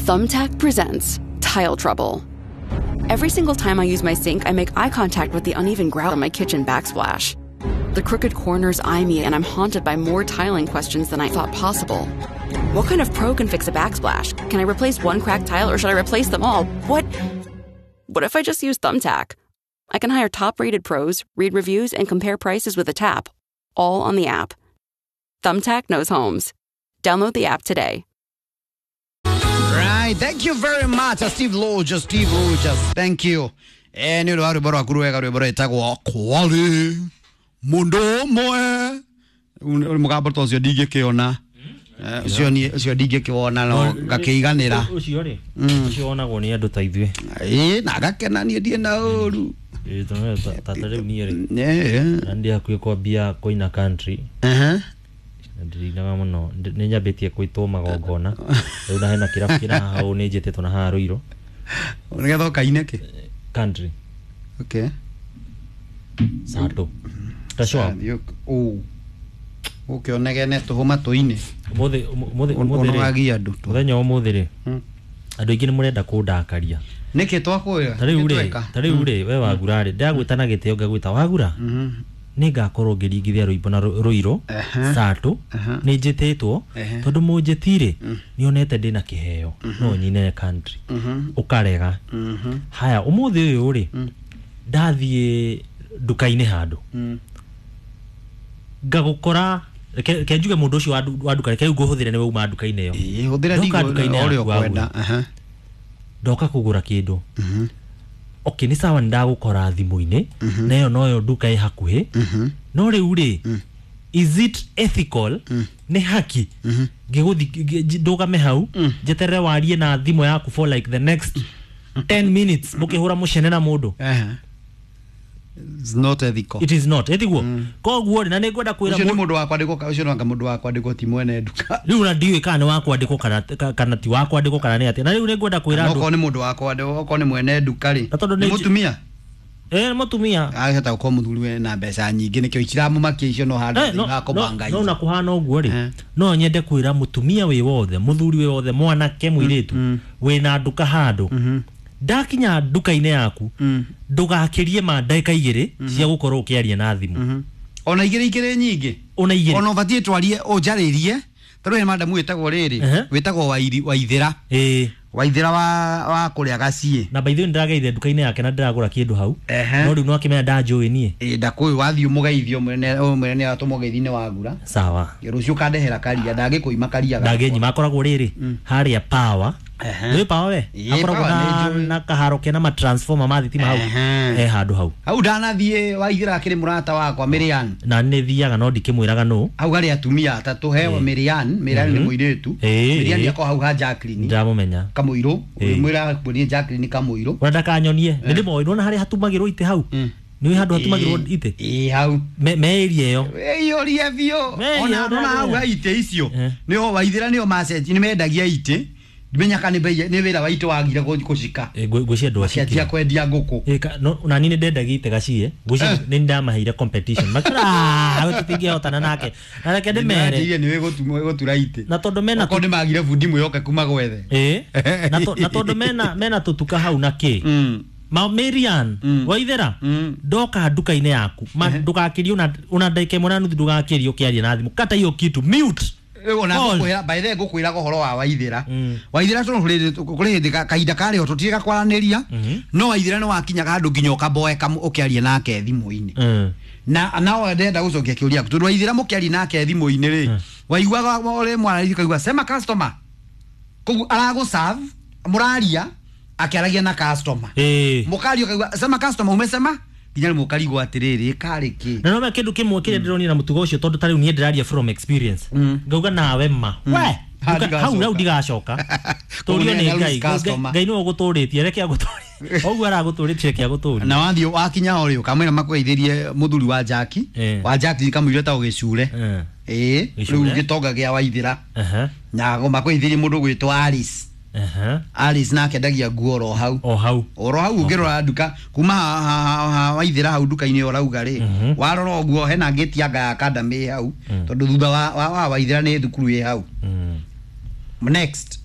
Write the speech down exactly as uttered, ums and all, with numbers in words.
Thumbtack presents Tile Trouble. Every single time I use my sink, I make eye contact with the uneven grout on my kitchen backsplash. The crooked corners eye me, and I'm haunted by more tiling questions than I thought possible. What kind of pro can fix a backsplash? Can I replace one cracked tile or should I replace them all? What? What if I just use Thumbtack? I can hire top-rated pros, read reviews, and compare prices with a tap, all on the app. Thumbtack knows homes. Download the app today. Right, thank you very much, Steve Rogers, Steve Rogers, thank you. Eh, nĩ ũndũ wa rwĩmbo rwaku rwega rwĩmbo rwĩtagwo Kwari Mũndũ Ũmwe. Mũgambo ta ũcio ndingĩkĩona. Ũcio niĩ ũcio ndingĩkĩwona no ngakĩiganĩra. Ũcio rĩ, ũcio wonagwo nĩ andũ ta ithuĩ. Ĩĩ, na ngakena niĩ ndirĩ na ũru. Ĩĩ, tondũ ta ta rĩu niĩ rĩ, Ĩĩ. na ndĩ hakuhĩ kwambia kũina country. Ehe. Na ndirinaga mũno, nĩ nyambĩtie kũitwo magongona. Rĩu na hena kĩrabu kĩna haha ũũ nĩ njĩtĩtwo na haha Ruiru. Nĩgetha ũkaine kĩ? Country. Okay. Sato. Ta show up. Ũ. Ũke ũnegene tũhũ matũ-inĩ. Ũmũthĩ ũmũthĩ ũmũthĩ rĩ. Ũnogagia andũ tu. Mũthenya wa ũmũthĩ rĩ. Andũ aingĩ nĩ mũrenda kũndakaria. Nĩkĩ twakwĩra? Ta rĩu rĩ, ta rĩu rĩ, we Wagura rĩ, ndagwĩta na gĩtĩo ngagwĩta Wagura. Nĩ ngakorwo ngĩringithia rwĩmbo na Ruiru Sato. Nĩ njĩtĩtwo tondũ mũnjĩti rĩ, nĩ onete ndĩna kĩheo no nyine country. Ũkarega. Haya, ũmũthĩ ũyũ rĩ, ndathiĩ nduka-inĩ handũ. Ngagũkora, reke njuge mũndũ ũcio wa nduka, reke rĩu ngũhũthĩre nĩwe uma nduka-inĩ ĩyo. Ĩĩ, hũthĩra Ndoka nduka-inĩ ũrĩa yaku ũkwenda. Wagura. Ndoka kũgũra kĩndũ. Okay, nĩ sawa nĩ ndagũkora thimũ-inĩ, na ĩyo noyo nduka ĩ hakuhĩ. No rĩu rĩ, is it ethical? Nĩ haki ngĩgũthi ndũgame hau njeterere warie na thimũ yaku for like the next ten minutes mũkĩhũra mũcene na mũndũ? It's not ethical. It is not ethical. Koguo rĩ, na nĩ ngwenda kwĩra ũcio nĩ mũndũ wa kwandĩkwo, ũcio no anga mũndũ wa kwandĩkwo ti mwene nduka. Rĩu na ndiũĩ kana nĩ wa kwandĩkwo kana kana ti wa kwandĩkwo kana nĩ atĩa. Na rĩu nĩ ngwenda kwĩra andũ. Okorwo nĩ mũndũ wa kwandĩkwo, okorwo nĩ mwene nduka rĩ, Na tondũ nĩ nĩ mũtumia? Eh, nĩ mũtumia. Ahota gũkorwo mũthuri we na mbeca nyingĩ nĩkĩo itiramũmakia icio no handũ Eh, no, thĩinĩ wa kũbanga no, no na kũhana ũguo rĩ, Eh. no nyende kwĩra mũtumia wĩ wothe, mũthuri wĩ wothe, mwanake, mũirĩtu wĩna nduka handũ, ndakinya nduka-inĩ yaku ndũgakĩrie ma ndagĩka igĩrĩ cia gũkorwo ũkĩaria na thimũ. Ona igĩrĩ ikĩrĩ nyingĩ. Ona igĩrĩ. Ona ũbatiĩ twarie ũnjarĩrie. Tarĩu hena madamu wĩtagwo rĩrĩ, Ehe. wĩtagwo Wairi, Waithĩra. Ĩĩ. Waithĩra wa wa kũrĩa Gaciĩ. Na by the way ndĩrageire nduka-inĩ yake na ndĩragũra kĩndũ hau. Ehe. No rĩu no akĩmenya ndanjũĩ niĩ. Ĩĩ, ndakũĩ wathiĩ ũmũgeithie ũmwĩre ũmwĩre nĩ atũmũgeithie nĩ wagura. Sawa. Rũciũ ũkandehera karia, ndangĩkũima karia gakwa. Ndangĩnyima, akoragwo rĩrĩ harĩa Power. Ehe. Nĩ Power we? Ĩĩ, Akoragwo Power na nĩ njũĩ. na kaharo kena ma transformer ma thitima hau. Ehe. Eh, handũ hau. Hau ndanathiĩ Waithĩra akĩrĩ mũrata wakwa Miriam. Na nĩ thiaga no ndikĩmwĩraga nũ. Hau harĩ atumia atatũ, he Miriam, Miriam nĩ mũirĩtu. Ĩĩ, Miriam ĩĩ. akoragwo hau ha Jacqueline. Ndĩramũmenya. Kamũirũ, Ĩĩ. mwĩra kuonie Jacqueline Kamũirũ. Ona ndakanyonie. Nĩ ndĩmoĩ, nĩwona harĩa hatumagĩrwo itĩ hau? Nĩ handũ hatumagĩrwo itĩ? Ĩĩ, hau. Me me area ĩyo. Ĩiyũrie biũ. Me area Ona ĩyo nona hau ha itĩ icio. Eh. Nĩho Waithĩra nĩo macenji, nĩ mendagia itĩ. Ndimenya kana nĩ nĩ wĩra wa itĩ wagire gũcika. Ĩ, ngwĩ- ngwĩciria andũ Macenjia acikire. kwendia ngũkũ. Ĩ, ka- no, na niĩ nĩ ndendagia itĩ gaciĩ. Ngwĩciria Eh. nĩ ndamaheire competition. Makĩra, "Ah, we tũtingĩhotana nake." Na reke ndĩmere. Nĩmanjĩire nĩ wĩ gũtura itĩ. Na tondũ mena Okorwo nĩ magire bundi mwĩhokeku magwethe. Ĩ, na to- na tondũ mena mena tũtuka hau na kĩ. Mm. Ma Marian, Mm. Waithĩra, Mm. ndoka nduka-inĩ yaku, ma ndũgakĩrie ona ona ndagĩka ĩmwe na nuthu ndũgakĩrie ũkĩaria na thimũ. Kata hiyo kitu, mute. Rĩu ona Pause. ngũkwĩra, by the way ngũkwĩraga ũhoro wa Waithĩra. Mm. Waithĩra tondũ kũrĩ kũrĩ hĩndĩ ka- kahinda karĩ ho tũtirĩ gakwaranĩria, no Waithĩra nĩ wakinyaga handũ nginya ũkamboeka ũkĩaria nake thimũ-inĩ. Mm. Na nao ndenda gũcokia kĩũria tondũ Waithĩra mũkĩaria nake thimũ-inĩ rĩ, waiguaga ũrĩ mwarĩrie ũkaigua sema customer. Koguo aragũserve, mũraria akĩaragia na customer. Ĩĩ. Mũkaria ũkaigua sema customer umesema nginya rĩmwe ũkarigwo atĩrĩrĩ karĩ kĩ. Na no kĩndũ kĩmwe kĩrĩa ndĩronire na mũtugo ũcio tondũ ta rĩu niĩ ndĩraria from experience. Ngauga nawe ma. We, Ha, nduka- hau ndigacoka. hau ndigacoka. Tũrio nĩ Kũu nĩ Ngai. customer. Ngai nĩwe ũgũtũrĩtie, reke agũtũrie. Ũguo aragũtũrĩtie reke agũtũrie. Na wathiĩ wakinya ho rĩ ũkamwĩra makũgeithĩrie mũthuri wa Jackie. Eh. Wa Jackie kamũira etagwo Gĩcure. Eh. Ĩĩ, Gĩcure. rĩu gĩtonga gĩa Waithĩra. Aha. Na makũgeithĩrie mũndũ ũgwĩtwo Alice. Aha. Alice nake endagia nguo oro hau. O hau. Oro hau ũngĩrora nduka kuma ha, ha, ha, ha Waithĩra hau nduka-inĩ ũrauga rĩ, warora ũguo hena ngĩti anga ya academy ĩ hau, tondũ thutha wa, wa, wa Waithĩra nĩ thukuru ĩ hau. Mm. Next